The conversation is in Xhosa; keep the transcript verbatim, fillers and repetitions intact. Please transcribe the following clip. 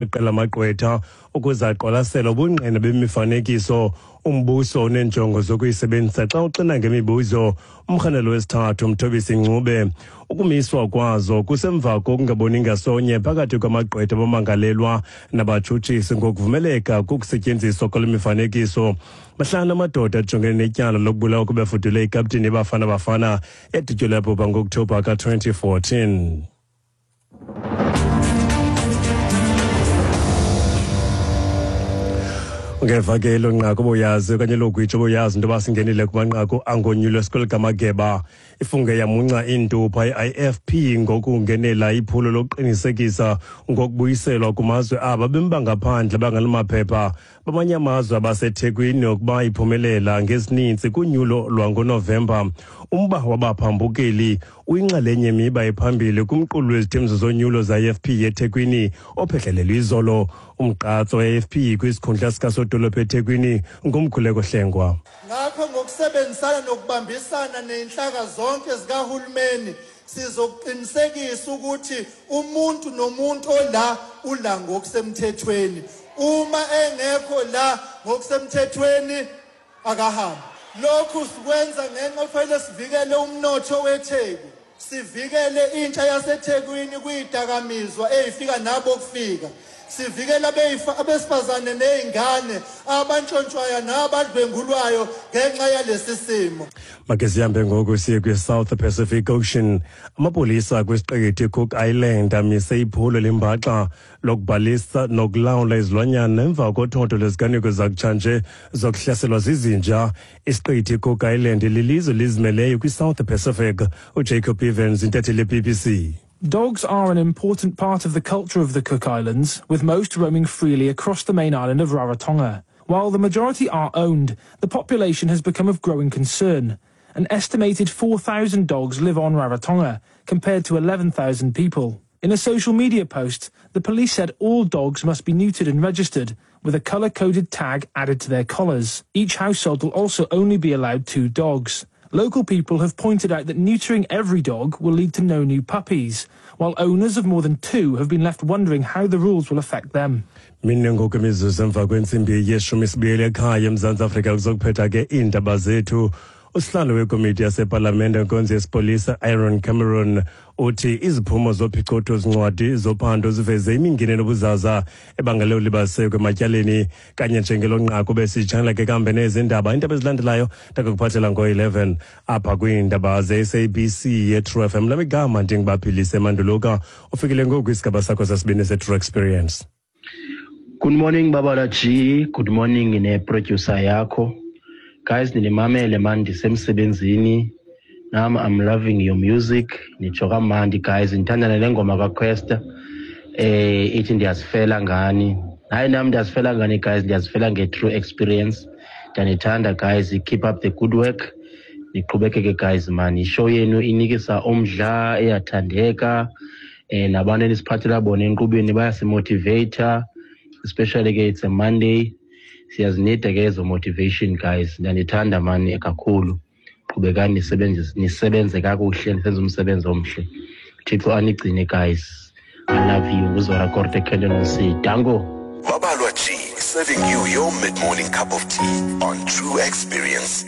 Iqela lamagqwetha ukuze aqwalasele ubungqina bemifanekiso umbuso oneenjongo zokuyisebenzisa xa uxina ngemibuzo umrhanelo wesithathu Mthobisi Ncube. Ukumiswa kwazo kusemva kokungaboni ngasonye phakathi kwamagqwetha abamangalelwa nabatshutshisi ngokuvumeleka kokusetyenziswa kwale mifanekiso. Mahlanu amadoda ajongene netyala lokubulawa kubefudule ikapteni yeBafana Bafana edutyulwe yabhubha ngo-Okthobha ka-twenty fourteen. Ungeva ke elo nqaku obuyazi okanye elo gwitsho obuyazi into yoba singenile kumanqaku angonyulwe sikolo kamageba. Ifunge yamunca iintupha i-I F P ngokungenela iphulo lokuqinisekisa ngokubuyiselwa kumazwe aba bemi bangaphandle banganamaphepha bamanye amazwe abaseThekwini ukuba iphumelela ngesininzi kunyulo lwangoNovemba. Umba wabaphambukeli uyinxalenye yemiba ephambili kumqulu wezithembiso zonyulo za-I F P eThekwini ophehlelelwe izolo. Umgqatso we-I F P kwisikhundla sikasodolophu eThekwini nguMkhuleko Hlengwa. Ngakho ngokusebenzisana nokubambisana nezinhlaka zonke zikahulumeni sizoqinisekisa ukuthi umuntu nomuntu ola ula ngokusemthethweni. Uma engekho la ngokusemthethweni akahambi. Lokhu sikwenza ngenxa kufanele sivikele umnotho weTheku, sivikele intsha yaseThekwini kwidakamizwa ezifika nabo kufika, sivikele abesifazane nezingane abantshontshwayo nabadlwengulwayo ngenxa yalesi simo. Make sihambe ngoku siye kwi-South Pacific Ocean. Amapolisa kwisiqithi Cook Island amise iphulo lembaxa lokubhalisa nokulawula izilwanyana emva kothotho lweziganeko zakutshanje zokuhlaselwa zizinja. Isiqithi Cook Island lilizwe lizimeleyo kwi-South Pacific. uJacob Evans, intatheli ye-B B C. Dogs are an important part of the culture of the Cook Islands, with most roaming freely across the main island of Rarotonga. While the majority are owned, the population has become of growing concern. An estimated four thousand dogs live on Rarotonga, compared to eleven thousand people. In a social media post, the police said all dogs must be neutered and registered, with a colour-coded tag added to their collars. Each household will also only be allowed two dogs. Local people have pointed out that neutering every dog will lead to no new puppies, while owners of more than two have been left wondering how the rules will affect them. Mine ngoku imizuzu emva kwentsimbi yeshumi sibuyele ekhaya eMzantsi Afrika kuzokuphetha ke iindaba zethu. Usihlalo wekomiti yasepalamente enkonzo yesipolisa Aaron Cameron uthi iziphumo zophicotho zincwadi zophando ziveze imingeni nobuzaza ebangele ulibaziseko ematyaleni. Kanye njengelo nqaku besitshanela ke kambe nezindaba. Iindaba ezilandelayo ndakukuphathela ngo-eleven apha kwiindaba ze-S A B C ye-True F M. Lamigama ndingubaphilise Manduluka. Ufikile ngoku isigaba sakho sesibini se-True Experience. Good morning Babala G, good morning ne-producer yakho. Guys, ninimamele man, ndisemsebenzini. Nam I'm loving your music. Nitsho kamandi guys, ndithanda nale ngoma kaQuesta. Eh ithi ndiyazifela ngani. Hayi nam ndiyazifela ngani guys, ndiyazifela nge-True Experience. Ndiyanithanda guys, keep up the good work. Niqhubekeke guys man, ishow yenu inikisa umdla, iyathandeka. Eh nabantu enisiphathela bona enkqubeni bayasimotivate, especially ke it's a Monday. Siyazinida ke ezo motivation guys. Ndiyanithanda mani kakhulu. Qhubekani nisebenze, nisebenze kakuhle, nisenze umsebenzi omhle. Thixo anigcine guys. I love you. Uzora Korte Kendon C. Dango. Babalwa G, serving you your mid-morning cup of tea on True Experience.